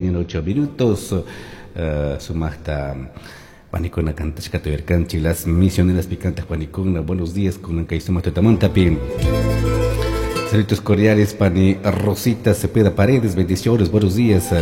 8 minutos sumajta panikuna cantashkata uyarkanchik Las Misioneras picantas panikuna. Buenos días kunan kay sumaq tutamantapi. Saludos cordiales, pani Rosita Cepeda Paredes, bendiciones, buenos días.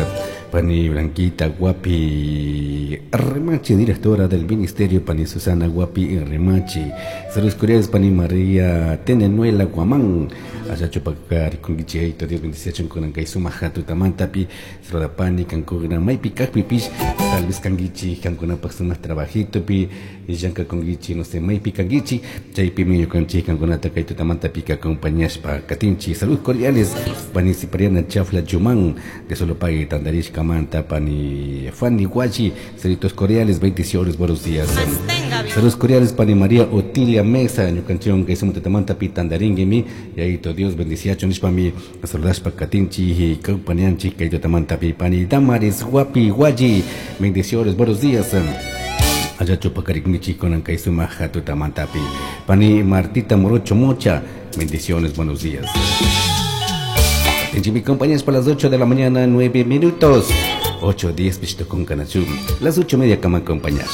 Pani Blanquita Guapi Remachi, directora del ministerio, pani Susana Guapi Remachi. Saludos cordiales, pani María Tenenuela Guamán. Allá chupakarikunkichik, Dios bendice kunan kay sumaq tutamantapi. Saluda pani kankuna maypi kajpipish, tal vez kankichik kankunapak sumaq trabajitopi, llankakunkichik, no sé, maypi kankichik, chaypimi ñukanchik kankunata kay tutamantapi acompañashpa katinchik. Saludos cordiales, pani Cipriana Chafla Yumán, de Solopagui, Tandarishkamanta, pani Fanny Guachi, saludos cordiales, bendiciones, buenos días. Saludos cordiales, pani María Otilia Mesa, ñukanchik kay sumaq tutamantapi tandaringuimi, yayito Dios bendiciacho nishpami, saludashpa katinchik, acompañanchik kay tutamantapi, pani Damaris Guapi Guayi, bendiciones, buenos días. Allá chupakarikunkichik kunan kay sumaq tutamantapi. Pani Martita Morocho Mocha, bendiciones, buenos días. Mi compañeros para las 8 de la mañana, 9 minutos. 8:10 pisto con kanachum. Las 8:30 kama acompañar.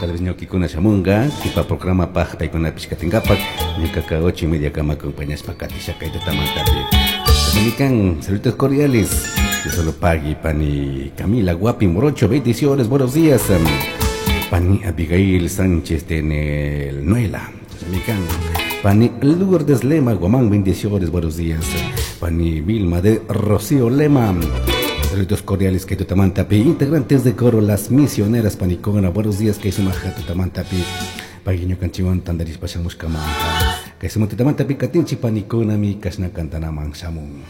Tal vez ñuqikuna shamunga, kipa programa paj paykuna pishkatinkapak, ñuqaka 8:30 kama acompañashpa katisha kay tutamantapi. Dominican, saludos cordiales. Yo solo pagui, pani Camila Guapi Morocho, bendiciones, buenos días. Pani Abigail Sánchez de Nuela, Dominican. Pani Lourdes Lema Guamán, bendiciones, buenos días. Pani Vilma de Rocío Lema, saludos cordiales que tutamantapi, integrantes de coro Las Misioneras Panicona, buenos días, que sumaja tutamantapi, paguiño canchiwan tandaris pashamushkamanta, que suma tutamantapi katinchi panicona mi kashna kantanaman shamun.